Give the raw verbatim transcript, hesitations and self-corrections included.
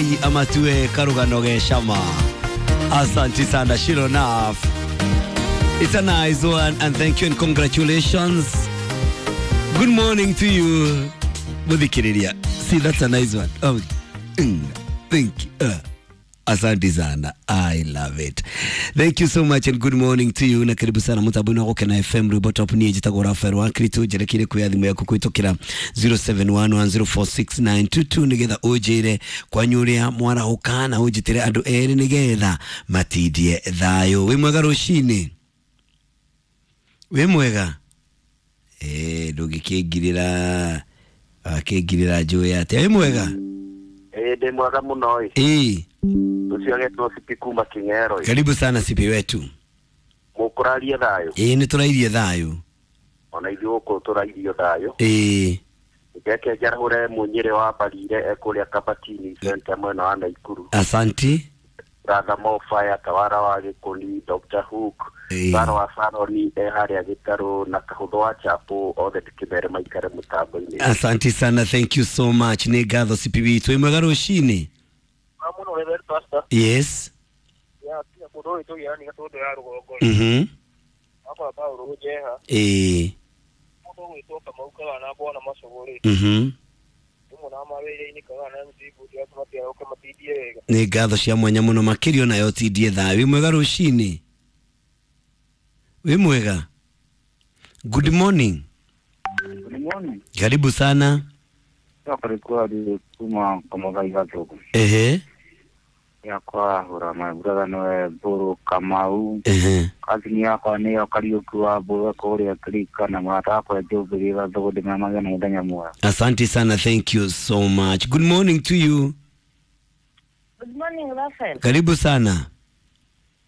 Amatue karugano ge shama. Asante sana Shironaf. It's a nice one and thank you and congratulations. Good morning to you. Muthikiriria. See, that's a nice one. Oh, mm, thank you. Uh, asante sana. I love it. Thank you so much and good morning to you. Na karibu sana mutambo-inĩ wa Gũkena F M rwĩmbo top niĩ njĩtagwo Rafael wa Kristo njerekeire kuoya thimũ yaku kũhĩtũkĩra zero seven one one zero four six nine two two nĩgetha ũnjĩre kwanyu ũrĩa mwarahũka na ũnjĩtĩre andũ erĩ nĩgetha matindie thayũ. Wĩ mwega rũcinĩ? Wĩ mwega? Eh, ndũngĩkĩngirĩra akĩngirĩra njũĩ atĩa. Wĩ mwega? Ĩĩ ndĩ mwega mũno ĩ. Ĩĩ. Ũcio agetwo Sipi kuma King'ero ĩ. Karibu sana Sipi wetu. Mũkũraria thayũ? Ĩĩ nĩtũrairie thayũ. Ona ithuĩ gũkũ tũrairio thayũ. Ĩĩ. Reke njarahũre mũnyĩrĩ wa Mbarire ekũrĩa Kabatini Center mwena wa Naikuru. Asanti. Brother Mofaya, Tawara wa Gĩkũni, Doctor Hook, Ĩĩ. Saro wa Saroni e harĩa Gĩtarũ na Kahũthũ wa Chapo othe ndĩkĩmere maikare mũtambo-inĩ. Asanti sana, thank you so much. Nĩ ngatho Sipi witũ. Wĩ mwega rũcinĩ? Mũno Reverend Pastor. Yes. Ya, tiga mũndũ ũyũ tũgĩra nĩ gatũndũ ya rũgongo. Mhm. Akora Paũlũ Njeha. Ĩĩ. Mũndũ ũgwĩtwo Kamau Kagana bwana Macũgũ rĩ. Mhm. Rĩmwe na mawĩra-inĩ Kagana M C Budi acio matiarũke matindie wega. Nĩ ngatho cia mwanya mũno makĩria onayo ũtindie thayũ. Wĩ mwega rũcinĩ? Wĩ mwega? Good morning. Good morning. Karibu sana. Yakarikuwa kuma Kamugai Gathuku. Ehe. Yakwa hura my brother nowe Mburu Kamau. Ehe. Kazini yakwa nĩyo Kariũki wa Mbũra kũrĩa Kirika na mũrata wakwa Njũmbĩrĩ Gathuku ndĩmamagia na mũthenya mwega. Asante sana, thank you so much. Good morning to you. Good morning, Raphael. Karibu sana.